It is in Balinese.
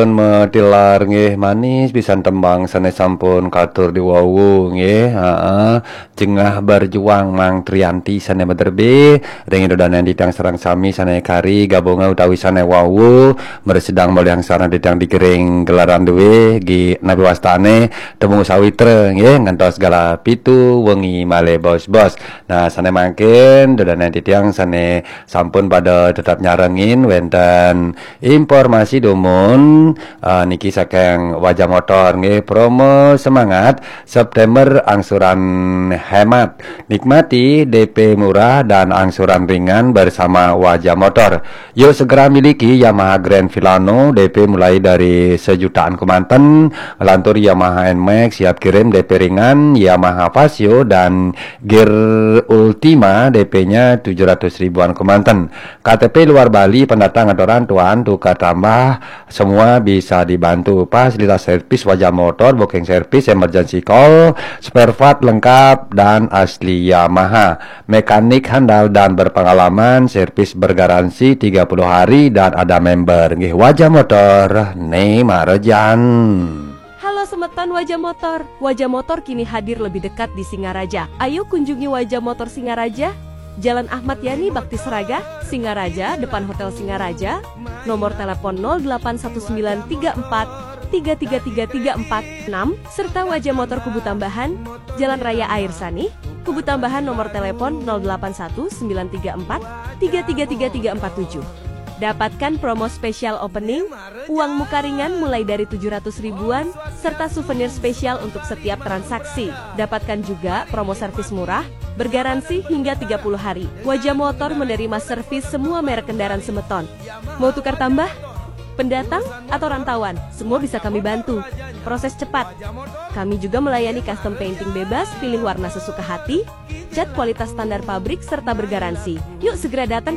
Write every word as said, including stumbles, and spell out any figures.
Pun metilar nggih manis pisan tembang sané sampun katur diwawu nggih. Heeh. Jengah berjuang Mang Trianti sané materbe, ring ida dané titiang sareng sami sané kari gabungan utawi sané wawu, mresidang maliang sareng titiang digering gelaran duwe, gi napi wastané temu sawitra nggih ngantos galah pitu wengi malih bos-bos. Nah, sané mangkin ida dané titiang sané sampun pada tetap nyarengin wénten informasi dumun, eh, niki saking Wajah Motor nggih, promo semangat September angsuran hemat. Nikmati D P murah dan angsuran ringan bersama Wajah Motor. Yuk segera miliki Yamaha Grand Filano, D P mulai dari sejutaan kemanten, lantur Yamaha Nmax siap kirim D P ringan, Yamaha Fazzio dan Gear Ultima D P-nya tujuh ratus ribuan kemanten. K T P luar Bali, pendatang atoran tuan tukar tambah, semua bisa dibantu. Fasilitas servis Wajah Motor, booking service, emergency call, spare part lengkap dan asli Yamaha. Mekanik handal dan berpengalaman, servis bergaransi tiga puluh hari dan ada member. Nggih, Wajah Motor, ne marejan. Halo semeton Wajah Motor. Wajah Motor kini hadir lebih dekat di Singaraja. Ayo kunjungi Wajah Motor Singaraja, Jalan Ahmad Yani Bakti Seraga, Singaraja, depan Hotel Singaraja. Nomor telepon nol delapan satu sembilan tiga empat tiga tiga tiga tiga empat enam, serta Wajah Motor Kubu Tambahan, Jalan Raya Air Sani, Kubu Tambahan, nomor telepon nol delapan satu sembilan tiga empat tiga tiga tiga tiga empat tujuh. Dapatkan promo spesial opening, uang muka ringan mulai dari tujuh ratus ribuan, serta souvenir spesial untuk setiap transaksi. Dapatkan juga promo servis murah, bergaransi hingga tiga puluh hari. Wajah Motor menerima servis semua merek kendaraan semeton. Mau tukar tambah? Pendatang atau rantauan, semua bisa kami bantu. Proses cepat. Kami juga melayani custom painting bebas, pilih warna sesuka hati, cat kualitas standar pabrik, serta bergaransi. Yuk segera datang